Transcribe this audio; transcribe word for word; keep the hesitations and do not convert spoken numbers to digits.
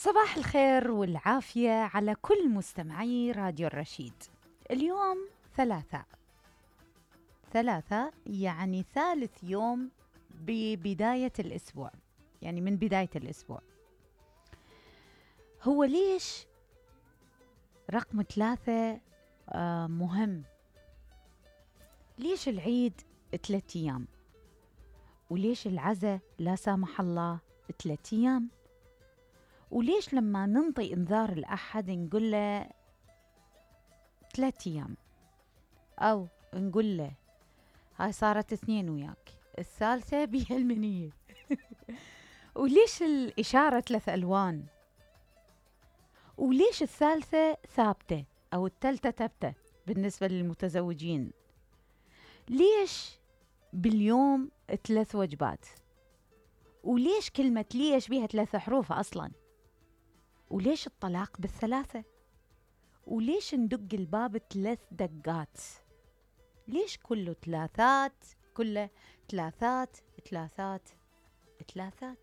صباح الخير والعافية على كل مستمعي راديو الرشيد. اليوم ثلاثاء ثلاثاء يعني ثالث يوم ببداية الأسبوع، يعني من بداية الأسبوع. هو ليش رقم ثلاثة آه مهم؟ ليش العيد ثلاثة أيام؟ وليش العزاء لا سامح الله ثلاثة أيام؟ وليش لما ننطي انذار الأحد نقول له ثلاث أيام، أو نقول له هاي صارت اثنين وياك، الثالثة بيها المنية. وليش الإشارة ثلاث ألوان؟ وليش الثالثة ثابتة أو الثالثة ثابتة بالنسبة للمتزوجين؟ ليش باليوم ثلاث وجبات؟ وليش كلمة ليش بيها ثلاث حروف أصلاً؟ وليش الطلاق بالثلاثة؟ وليش ندق الباب ثلاث دقات؟ ليش كله ثلاثات؟ كله ثلاثات ثلاثات ثلاثات؟